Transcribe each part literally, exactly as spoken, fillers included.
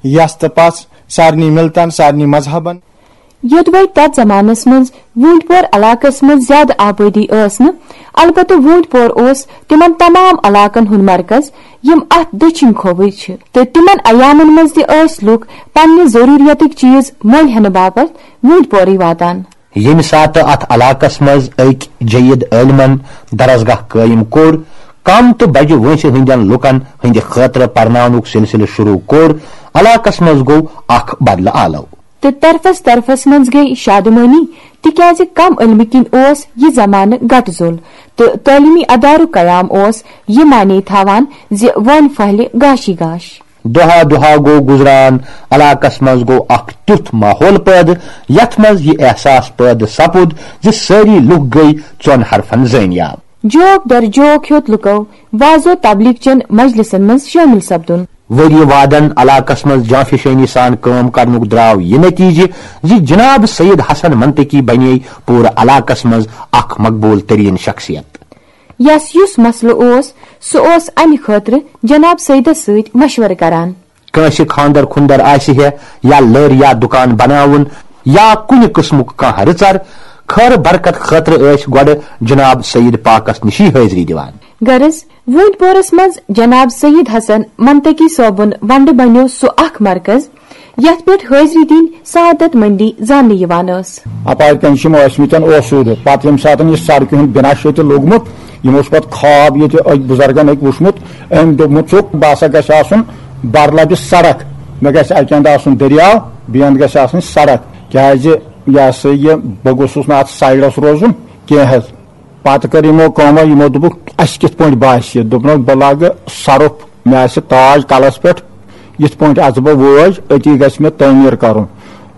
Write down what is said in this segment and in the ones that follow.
یس تہٕ پس، سارنٕے ملتن، سارنٕے مذہبن۔ یوٚدوَے تَتھ زمانس منٛز ووٗنٛٹۍ پور علاقس منٛز زیادٕ آبٲدی ٲس نہٕ، البتہٕ ووٗنٛٹۍ پور اوس تِمن تمام علاقن ہُنٛد مرکز، یِم اتھ دٔچھِنۍ کھووٕرۍ چھِ، تہٕ تِمن ایامن منٛز تہِ ٲسۍ لوٗکھ پننہِ ضروٗریتٕکۍ چیٖز مٔلۍ ہٮ۪نہٕ باپتھ ووٗنٛٹۍ پورٕے واتان۔ ییٚمہِ ساتہٕ اتھ علاقس منٛز أکۍ جید عٲلمن درسگاہ قٲیِم کوٚر، کم تہٕ بجہِ وٲنٛسہِ ہٕنٛدٮ۪ن لوٗکن ہٕنٛدِ خٲطرٕ پرناونُک سلسلہٕ شروع کوٚر، علاقس منٛز گوٚو اکھ بدلہٕ آلو۔ تہٕ طرفس طرفس منٛز گٔیہِ شادمٲنی، تِکیازِ کم علمہٕ کِنۍ اوس یہِ زمانہٕ گٹہٕ زوٚل، تہٕ تعلیمی ادارُک قیام اوس یہِ معنی تھاوان زِ وٲنۍ پھٔہلہِ گاشٕے گاش۔ دۄہا دۄہا گوٚو گُزران، علاقس منٛز گوٚو اکھ تیُتھ ماحول پٲدٕ، یتھ منٛز یہِ احساس پٲدٕ سپُد زِ سٲری لوٗکھ گٔیہِ ژۄن حرفن زٲنیاب۔ جوک در جوک ہیوٚت لُکو وعظ و تبلیغ چٮ۪ن مجلسن منٛز شٲمِل سپدُن۔ ؤری وادن علاقس منٛز جانفشٲنی سان کٲم کرنُک درٛاو یہِ نتیجہٕ زِ جناب سید حسن منطقی بنے پوٗرٕ علاقس منٛز اکھ مقبول ترین شخصیت۔ یس یُس مسلہٕ اوس، سُہ اوس امہِ خٲطرٕ جناب سیدس سۭتۍ مشورٕ کران۔ کٲنٛسہِ خانٛدر خُنٛدر آسہِ ہے یا لٔر یا دُکان بناوُن یا کُنہِ قٕسمُک کانٛہہ رٕژر، خٲر برکت خٲطرٕ ٲسۍ گۄڈٕ جناب سید پاکس نِشی حٲضری دِوان۔ غرض، ووٗنٛتۍ پورس منٛز جناب سید حسن منطقی صٲبُن ونٛڈٕ بنیوو سُہ اکھ مرکز، یتھ پٮ۪ٹھ حٲضری دِنۍ سعادت مندی زاننہٕ یِوان ٲس۔ اپارِ کنہِ چھِ یِم ٲسۍ مٕتٮ۪ن اوسوٗدٕ۔ پتہٕ ییٚمہِ ساتہٕ یہِ سڑکہِ ہُنٛد بنا چھُ ییٚتہِ لوٚگمُت، یِمو چھُ پتہٕ خواب ییٚتہِ أکۍ بُزرگن أکۍ وُچھمُت۔ أمۍ دوٚپمُت چھُکھ، بہٕ ہسا گژھِ آسُن برلبہِ سڑک، مےٚ گژھِ اکہِ اندٕ آسُن دٔریاو، بیٚیہِ اندٕ گژھِ آسٕنۍ سڑک، کیازِ یہِ ہسا یہِ بہٕ گوٚژھُس نہٕ اتھ سایڈس روزُن کینٛہہ حظ۔ پتہٕ کٔر یِمو کٲمہ، یِمو دوٚپُکھ، اسہِ کِتھ پٲٹھۍ باسہِ؟ دوٚپنکھ، بہٕ لاگہٕ سرُپھ، مےٚ آسہِ تاج کلس پٮ۪ٹھ، یِتھ پٲٹھۍ اژٕ بہٕ وٲج، أتی گژھِ مےٚ تعمیٖر کرُن۔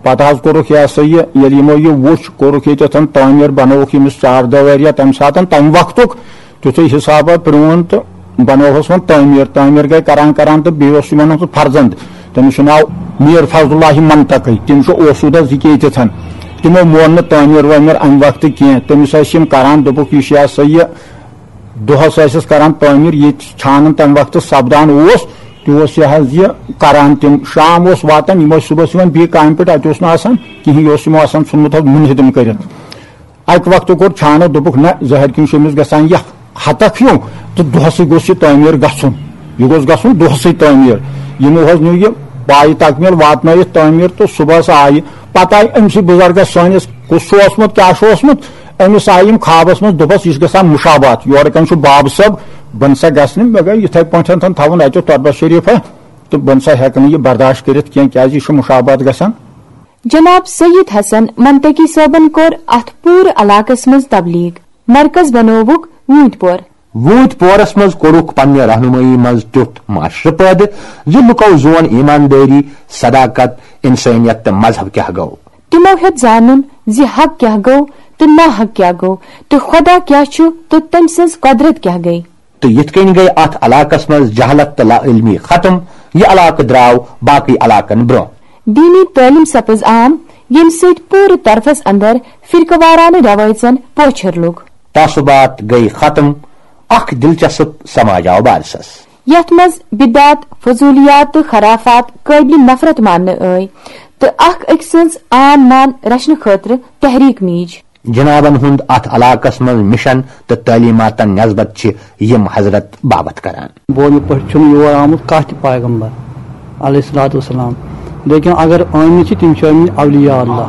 پتہٕ حظ کوٚرُکھ یہِ ہسا یہِ، ییٚلہِ یِمو یہِ وُچھ، کوٚرُکھ ییٚتٮ۪تھ تعمیٖر، بنووُکھ ییٚمِس چار دیواریا تمہِ ساتہٕ، تمہِ وقتُک تیُتھُے حسابہ پرٛون تہٕ بنووہس وۄنۍ تعمیٖر۔ تعمیٖر گٔے کران کران تہٕ بیٚیہِ اوس یِمن ہُنٛد فرزند، تٔمِس چھُ ناو میٖر فضل اللہ منطقی، تِم چھِ اوسوٗدس یہِ کہِ ییٚتٮ۪تھ۔ تِمو مون نہٕ تعمیٖر وٲمیٖر امہِ وقتہٕ کینٛہہ۔ تٔمِس ٲسۍ یِم کران، دوٚپُکھ، یہِ چھُ یہِ ہسا یہِ دۄہس ٲسِس کران تعمیٖر، ییٚتہِ چھانان تمہِ وقتہٕ سپدان اوس، تہِ اوس یہِ حظ یہِ کران۔ تِم شام اوس واتان، یِم ٲسۍ صُبحس یِوان بیٚیہِ کامہِ پٮ۪ٹھ، اتہِ اوس نہٕ آسان کِہینۍ، یہِ اوس یِمو آسان ژھُنمُت حظ مُنہدم کٔرِتھ۔ اکہِ وقتہٕ کوٚر چھانو، دوٚپُکھ، نہ، زہر کِنۍ چھُ أمِس گژھان یہِ ہتکھ ہیوٗ، تہٕ دۄہسٕے گوٚژھ یہِ تعمیٖر گژھُن، یہِ گوٚژھ گژھُن دۄہسٕے تعمیٖر۔ یِمو حظ نیوٗ یہِ پایہِ تکمیٖل، واتنٲیِتھ تعمیٖر، تہٕ صُبحس آیہِ۔ پتہٕ آیہِ أمسٕے بُزرگس سٲنِس، کُس چھُ اوسمُت، کیٛاہ چھُ اوسمُت، أمِس آیہِ یِم خوابس منٛز، دوٚپس، یہِ چھُ گژھان مُشابات، یورٕ کنہِ چھُ بابہٕ صٲب، بہٕ نہ سا گژھٕ نہٕ، مےٚ گٔے یِتھے پٲٹھۍ تھاوُن اتہِ تربت شریفہ، تہٕ بہٕ نہ سا ہٮ۪کہٕ نہٕ یہِ برداشت کٔرِتھ کینٛہہ، کیازِ یہِ چھُ مُشابات گژھان۔ جناب سید حسن منطقی صٲبن کوٚر اتھ پوٗرٕ علاقس منٛز تبلیغ۔ مرکز بنووُکھ ووٗنٛتۍ پور۔ ووٗنٛتۍ پورس منٛز کوٚرُکھ پننہِ رہنمٲیی منٛز تیُتھ معاشرٕ پٲدٕ زِ لُکو زون ایماندٲری، صداقت، انسٲنیت تہٕ مذہب کیٛاہ گوٚو۔ تِمو ہیوٚت زانُن زِ حق کیٛاہ گوٚو تہٕ ناحق کیٛاہ گوٚو تہٕ خۄدا کیٛاہ چھُ تہٕ تٔمۍ سٕنٛز قۄدرت کیٛاہ گٔے۔ تہٕ یِتھ کٔنۍ گٔے اتھ علاقس منٛز جہالت تہٕ لا علمی ختم، یہِ علاقہٕ درٛاو باقٕے علاقن برٛونٛہہ۔ دیٖنی تعلیٖم سپٕز عام، ییٚمہِ سۭتۍ پوٗرٕ طرفس اندر فرقہٕ وارانہٕ رٮ۪وٲیژن پوچھر لوٚگ۔ تعصبات گٔے ختم۔ اکھ دلچسپ سماج آو بارسس۔ یتھ منٛز بدعت، فضولیات تہٕ خرافات قٲبلِ نفرت ماننہٕ ٲے تہٕ اکھ أکۍ سٕنٛز آن مان رچھنہٕ خٲطرٕ تحریک میٖج۔ جنابن ہُنٛد اتھ علاقس منٛز مشن تہٕ تعلیماتن نسبت چھِ یِم حضرت باوتھ کران۔ بونہِ پٲٹھۍ چھُنہٕ یور آمُت کانٛہہ تہِ پیغمبر علیہ الصلوۃ والسلام، لیکن اگر آمٕتۍ چھِ، تِم چھِ آمٕتۍ اولیاء اللہ،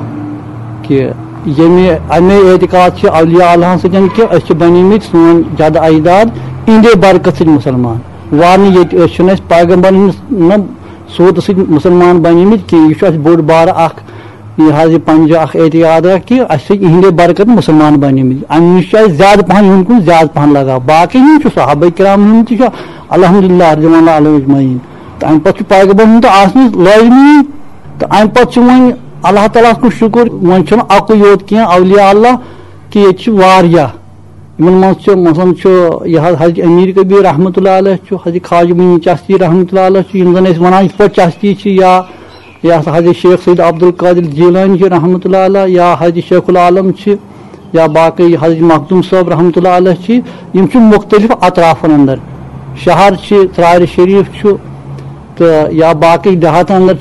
کہِ ییٚمہِ، اَمے اعتقاد چھِ اولیاء اللہَن سۭتۍ کہِ أسۍ چھِ بنیمٕتۍ، سون جد اجداد اِہِنٛدے برکت سۭتۍ مُسلمان۔ ورنہٕ ییٚتہِ أسۍ چھِنہٕ اَسہِ پیغمبرن ہٕنٛز نہ صوٗرتہٕ سۭتۍ مُسلمان بنیمٕتۍ کینٛہہ۔ یہِ چھُ اَسہِ بوٚڑ بارٕ اَکھ، یہِ حظ یہِ پنجہِ اَکھ اعتقاد اَکھ کہِ اَسہِ چھِ یِہِنٛدے برکت مُسلمان بنیمٕتۍ۔ اَمہِ نِش چھُ اَسہِ زیادٕ پَہَن یِہُنٛد کُن زیادٕ پَہَن لگاو۔ باقٕے یِم چھِ صحابہ کرام ہُنٛد تہِ چھُ الحمدللہ رضوان اللہ علیہم اجمعین۔ تہٕ اَمہِ پَتہٕ چھُ پیغمبر ہُنٛد تہٕ آسنٕے لٲزمی۔ تہٕ اَمہِ پَتہٕ چھُ وۄنۍ اللہ تعالیٰ ہَس کُن شُکُر، وۄنۍ چھُنہٕ اَکُے یوت کینٛہہ اولیاء اللہ، کہِ ییٚتہِ چھِ واریاہ۔ یِمن منٛز چھُ، مثلاً، چھُ یہِ حض-، حضرت امیر کبیر رحمتہ اللہ علیہ چھُ، حضرت خواجہ معین چشتی رحمتہ اللہ علیہ چھُ، یِم زن أسۍ ونان یِتھ پٲٹھۍ چشتی چھِ، یا، یا سا حضرت شیخ سید عبدالقادر جیلانی چھِ رحمتہ اللہ علیہ، یا حضرت شیخ العالم چھِ، یا باقٕے حضرت مخدوم صٲب رحمتہ اللہ علیہ چھِ۔ یِم چھِ مختلف اطرافن اندر، شہر چھِ، ژرارِ شریف چھُ، تہٕ یا باقٕے دیہاتن اندر چھِ